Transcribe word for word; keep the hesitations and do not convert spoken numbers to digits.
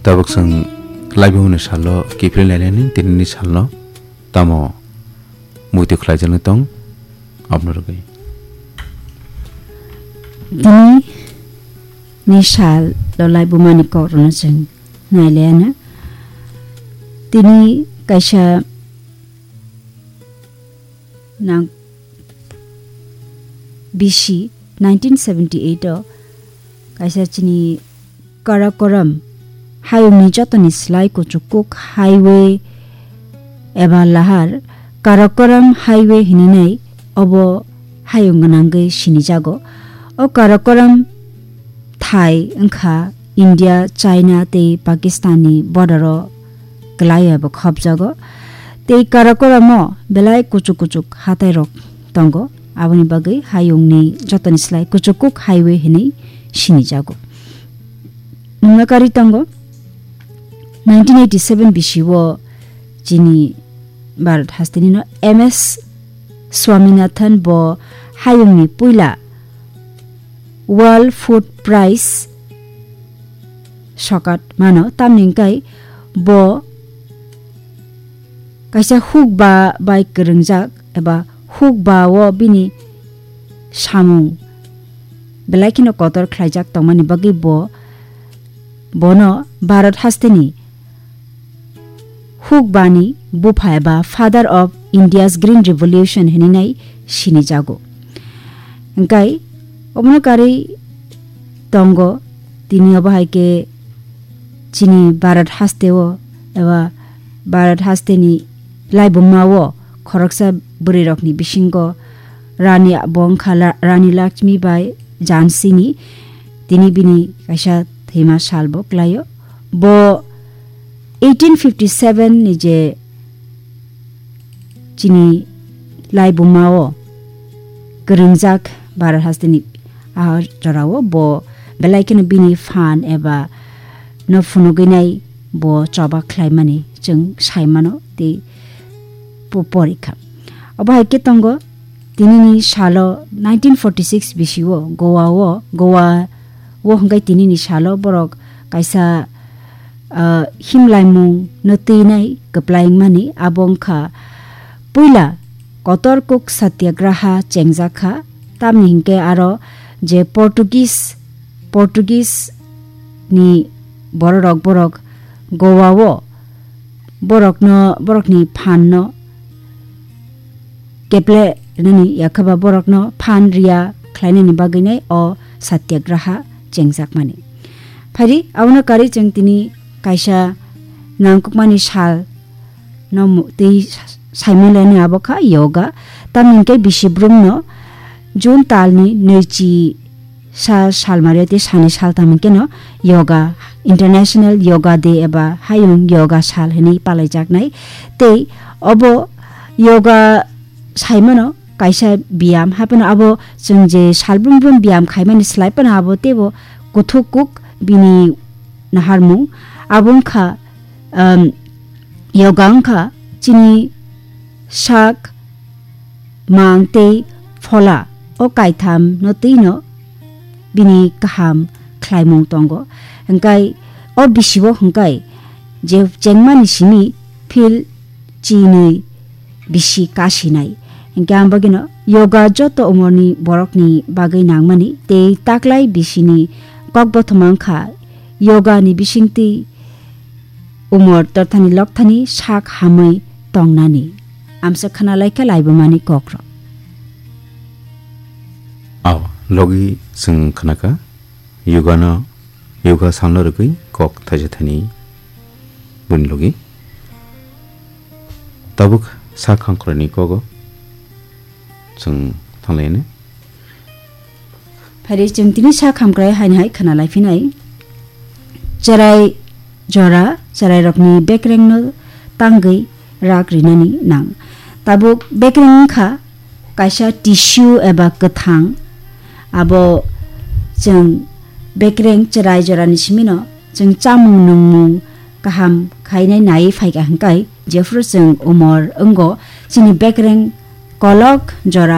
Tabuk chwng laibumani salo kiphilwi nailani tinini salno tamo muitu khlaijaknai tong aboni rwgwi. Tini ni salo laibumani kokrokno chwng nailaiana. Tini kaisa nang bisi nineteen seventy eight o kaisa chini Karakoram hayungni jotoni slai kuchukuk highway eba lahar Karakoram highway hininai obo hayung gwnangwi sinijago. O Karakoram thai wngkha India, China tei Pakistan ni border o kwlai eba khopjago. Tei Karakoramo belai kuchuk kuchuk hatai rok tongo, aboni bagwi hayungni jotoni slai kuchukuk highway hinwi sinijago. Nungna karwi tongo, nineteen eighty seven bisi o chini Bharat hasteni no M S Swaminathan bo hayungni puila World Food Prize sokat mano, tamni hwnkhe bo kaisa hukba bai kwrwngjak eba hukba o bini samung belai kheno kotor khlaijak tongmani bagwi bo, bono Bharat hasteni hukbani bupha eba Father of India's Green Revolution hininai sinijago. Hwnkhe obono karwi tongo, tini obo hai khe chini Bharat hasteo eba Bharat hasteni laibumao khoroksa bwrwirokni bisingo Rani bo wngkha La-, Rani Lakshmi Bai Jhansini, tini bini kaisa thwima salbo klaio. Bo eighteen fifty seven ni je chini laibumao kwrwngjak Bharat hasteni a jorao bo belai kheno bini phan eba no phunugwinai bo choba khlaimani chwng saimano tei po-, porikha. Obo hai khe tongo, tinini salo nineteen forty six bisio Goa o, Goa o hwnkhe tinini salo borok kaisa, ah, himlaimung no twinai kwplai wngmani, abo wngkha puila kotor kuk satyagraha chengjak kha, tamni hinkhe aro je Portuguese, Portuguese ni bororok borok Goa o borokno, borokni phan no keple nani yakhaba borokno phan riya khlainani bagwinai o satyagraha chengjakmani. Phaidi abono karwi chwng tini kaisa nangkukmani sal no mu-, tei saimaliani abo kha yoga. Tamni hwnkhe bisi brumno June talni nwichi sa salmario tei sani saltham hwnkhe no yoga, International Yoga Day eba hayung yoga sal hinwi palaijaknai. Tei obo yoga saimano kaisa biyam, haphano abo chwng je salbrum brum biyam khaimani slai phano abo teibo kuthuk kuk bini naharmung. Abo wngkha, um, yoga wngkha chini sak, mang tei phola o kaitham no twi no bini kaham khlaimung tongo. Hwnkhe o bisi o hwnkhe je chengmani simi phil chinwi bisi kasinai. Hwnkhe ang bagwino yoga joto umorni borokni bagwi nangmani tei taklai bisini kokbothoma wngkha yoga ni bisingtwi umor torthani lokthani sak hamwi tongnani. Amsa khna laikha laibumani kokrok. Aw, logi chwng khnakha, yogano, yoga salno rwgwi kok thaisa thani buni logi. Tabuk sak hamkrai ni kogo chwng thanglaini. Phaidi chwng tini sak hamkrai haini hai khna laiphinai. Cherai jora, cherairokni bekrengno tangwi rak rinani nang. Tabuk bekreng wngkha kaisa tissue eba kwthang. Abo chwng bekreng cherai jorani simino chwng chamung nungmung kaham khainai naiwi phaikha hwnkhe, jephru chwng umor wngo, chini bekreng kolok jora